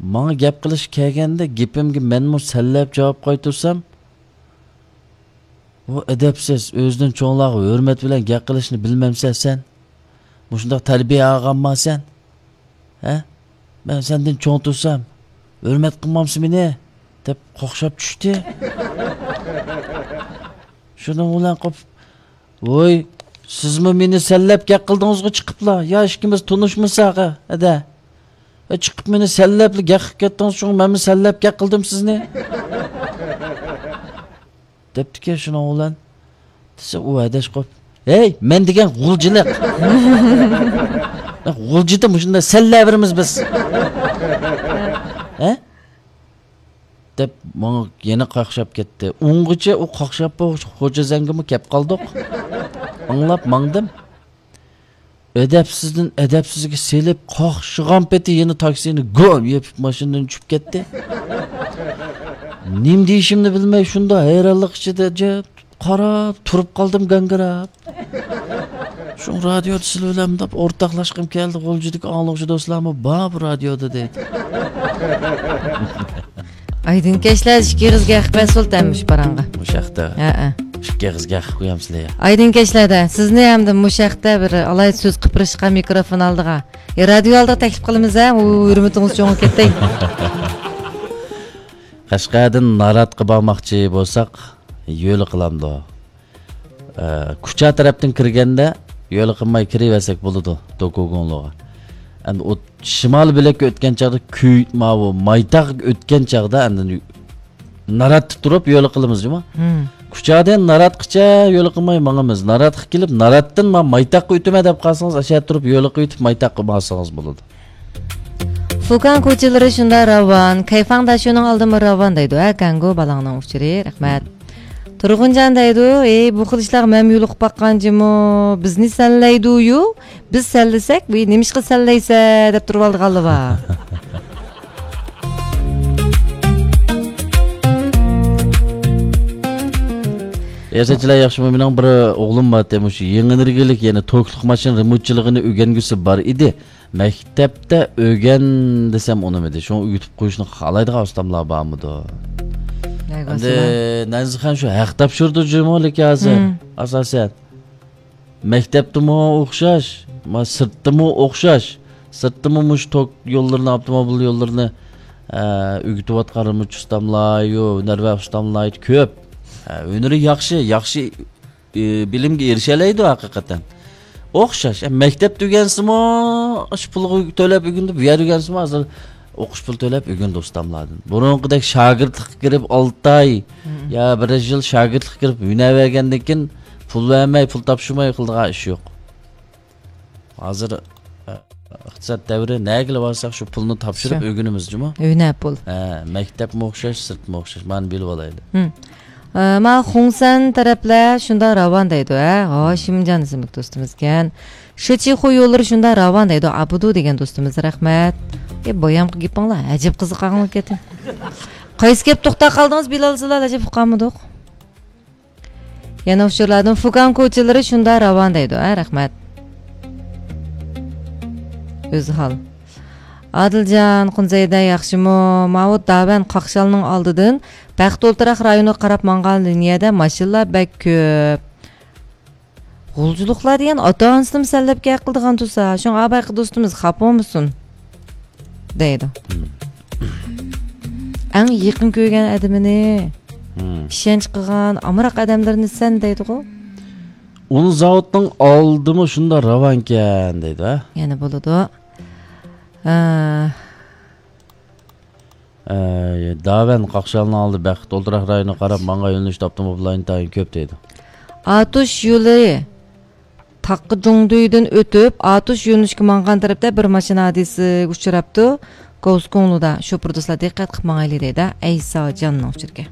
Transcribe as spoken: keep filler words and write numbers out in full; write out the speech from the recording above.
ماڭا گەپ قىلىشقا كەلگەندە گېپىمگە مەنمۇ سەنلەپ جاۋاب قايتۇرسام، بۇ ئەدەپسىز، ئۆزىدىن چوڭلارغا ھۆرمەت بىلەن گەپ قىلىشنى بىلمەمسەن سەن؟ مۇشۇنداق تەربىيە ئالغانما سەن؟ ھە؟ مەن سەندىن چوڭ تۇرسام، ھۆرمەت قىلمامسەن مېنى؟ دەپ قاقشاپ چۈشتى. شۇنىڭ بىلەن قوپۇپ، ۋوي، سىزمۇ مېنى سەنلەپ گەپ قىلدىڭىزغۇ چىقىپلا، يا ئىككىمىز تونۇشمىساق، ھە، ھەدە. ھە، چىقىپ مېنى سەنلەپلا گەپ قىلىپ كەتتىڭىز، شۇڭا مەنمۇ سەنلەپ گەپ قىلدىم سىزنى. دەپتىكەن شۇنىڭ بىلەن. دېسە ئۇ ھەدەش قويۇپ، ھەي، مەن دېگەن غۇلجىلىق. غۇلجىدا مۇشۇنداق سەنلەۋېرىمىز بىز. ھە؟ دەپ ماڭا يەنە قاقشاپ كەتتى. ئۇنغىچە ئۇ قاقشاپ بولغۇچە خوجازەنگىمۇ كەپ قالدۇق. ئاڭلاپ ماڭدىم. ئەدەپسىزدىن ئەدەپسىزگە سېلىپ، قاقشىغان پېتى يەنە تاكسىنى گوم يېپىپ ماشىنىدىن چۈشۈپ كەتتى. نېمە دېيىشىمنى بىلمەي شۇنداق ھەيرانلىق ئىچىدە جىپ قاراپ تۇرۇپ قالدىم گاڭگىراپ. شۇڭا رادىيودا سىلەر بىلەن مۇنداق ئورتاقلاشقۇم كەلدى، غۇلجىدىكى ئاڭلىغۇچى دوستلارمۇ بار بۇ رادىيودا دەيدۇ. ئايدىن كەچلەر ئىككى قىزغا ھەق بەرسۇلتەن مۇشۇ پاراڭغا. مۇشۇ ھەقتە ھەئە. ئىككى قىزغا ھەق قويامسىلەر يا؟ ئايدىن كەچلەردە سىزنى ھەمدە مۇشۇ ھەقتە بىر ئالاھىدە سۆز قىلىپ بېرىشقا مىكروفون ئالدىغا، يا رادىيو ئالدىغا تەكلىپ قىلىمىز ھە، ئۇ ھۆرمىتىڭىز چوڭىيىپ كەتتى. قەشقەردىن ناراتقا بارماقچى بولساق، يولى قىلامدۇ؟ ئە، كۇچا تەرەپتىن كىرگەندە يولى قىلماي كىرىۋەرسەك بولىدۇ، دوكۇگۇڭلۇغا. ئەمدى ئۇ شىمال بۆلەككە ئۆتكەن چاغدا كۈ-، ماۋۇ مايتاغ ئۆتكەن چاغدا ئاندىن ناراتتا تۇرۇپ يولى قىلىمىز جۇمۇ. مم. كۇچادىن ناراتقىچە يولى قىلماي ماڭىمىز. ناراتقا كېلىپ، ناراتتىن ما-، مايتاغقا ئۆتىمەن دەپ قالسىڭىز، ئاشۇ يەردە تۇرۇپ يولى قىلىۋېتىپ مايتاغقا ماڭسىڭىز بولىدۇ. فۇكان كوچىلىرى شۇنداق راۋان، كەيفاڭ داشۇنىڭ ئالدىمۇ راۋان دەيدۇ، ھە، گاڭگو بالاڭنىڭ ئۇچۇرى، رەھمەت. تۇرغۇنجان دەيدۇ، ئەي، بۇ خىل ئىشلارغا مەنمۇ يولۇقۇپ باققان جۇمۇ، بىزنى سەنلەيدۇ-يۇ، بىز سەنلىسەك، ۋى، نېمىشقا سەنلەيسە، دەپ تۇرۇۋالىدىغانلار بار. رىياسەتچىلەر ياخشىمۇ؟ مېنىڭ بىر ئوغلۇم بار، مۇشۇ يېڭى ئېنېرگىيەلىك، يەنى توكلۇق ماشىنا رېمونتچىلىقىنى ئۆگەنگۈسى بار ئىدى. مەكتەپتە ئۆگەن دېسەم ئۇنىمىدى. شۇڭا ئۆگىتىپ قويۇشنى خالايدىغان ئۇستاملار بارمىدۇ؟ ئەمدى نەنزىخان شۇ ھەق تاپشۇردى جۇمۇ لېكىن ھازىر، مم، ئاساسەن. مەكتەپتىمۇ ئوخشاش، ما سىرتتىمۇ ئوخشاش. سىرتتىمۇ مۇشۇ توك يوللىرىنى، ئاپتوموبىل يوللىرىنى، ئە، ئۆگىتىۋاتقان رېمونتچى ئۇستاملار، يو، ھۈنەرۋەن ئۇستاملار كۆپ. ئە، ھۈنىرى ياخشى، ياخشى ئى، بىلىمگە ئېرىشەلەيدۇ ھەقىقەتەن. ئوخشاش. ئە، مەكتەپتە ئۆگەنسىمۇ، ئاشۇ پۇلغا تۆلەپ ئۆگىنىدۇ، بۇ يەردە ئۆگەنسىمۇ، ھازىر ئوقۇش پۇل تۆلەپ ئۆگىنىدۇ ئۇستاملاردىن. بۇرۇنقىدەك شاگىرتلىققا كىرىپ، ئالتە ئاي، مم، يا بىر يىل شاگىرتلىققا كىرىپ، ھۈنەر بەرگەندىن كېيىن، پۇل بەرمەي، پۇل تاپشۇرماي قىلىدىغان ئىش يوق. ھازىر، ئە، ئىقتىساد دەۋرى، نەگىلا بارساق شۇ پۇلنى تاپشۇرۇپ شۇ، ئۆگىنىمىز جۇمۇ. ھۈنەر پۇل. ھە، مەكتەپمۇ ئوخشاش، سىرتمۇ ئوخشاش. مانا بىلىۋالايلى. ھىم. ئە، ما خۇڭسەن تەرەپلەر شۇنداق راۋان دەيدۇ، ھە؟ ھاشىمجان ئىسىملىك دوستىمىزكەن. شىچىخۇ يوللىرى شۇنداق راۋان دەيدۇ، ئابىدۇ دېگەن دوستىمىز، رەھمەت. ئە، بايامقى گېپىڭلار ئەجەب قىزىقارلىق كەتتى. قايسى گەپ توختاپ قالدىڭىز، بىلالسىلار، ئەجەب ئۇقالمىدۇق. يەنە ئۇچۇرلاردىن فۇكان كوچىلىرى شۇنداق راۋان دەيدۇ، ھە، رەھمەت. ئۆزى ھال. ئادىلجان، قۇنزەيدە ياخشىمۇ؟ ماۋۇ داۋەن قاقشالنىڭ ئالدىدىن بەخت ئولتۇراق رايونىغا قاراپ ماڭغان لىنىيەدە ماشىنىلار بەك كۆپ. غۇلجىلىقلار دېگەن ئاتا-ئانىسىنىمۇ سەنلەپ گەپ قىلىدىغان تۇرسا، شۇڭا بايىقى دوستىمىز خاپا بولمىسۇن دەيدۇ. مم. ئەڭ يېقىن كۆرگەن ئادىمىنى، مم، ئىشەنچ قىلغان ئامراق ئادەملىرىنى سەن دەيدىغۇ. ئۇن زاۋۇتنىڭ ئالدىمۇ شۇنداق راۋانكەن دەيدۇ، ھە؟ يەنە بولىدۇ. ئە، ئەي، داۋەن قاقشالنىڭ ئالدى بەخت ئولتۇراق رايونىغا قاراپ ماڭغان يۆنىلىشتە ئاپتوموبىللار ئىنتايىن كۆپ دەيدۇ. ئاتۇش يولى تاققا جۇڭدۇيدىن ئۆتۈپ، ئاتۇش يۆنىلىشكە ماڭغان تەرەپتە بىر ماشىنا ھادىسىسىگە ئۇچراپتۇ. گوسكوڭلۇدا شوپۇر دوستلار دىققەت قىلىپ ماڭايلى دەيدۇ. ئەيساجاننىڭ ئۇچۇرىكەن.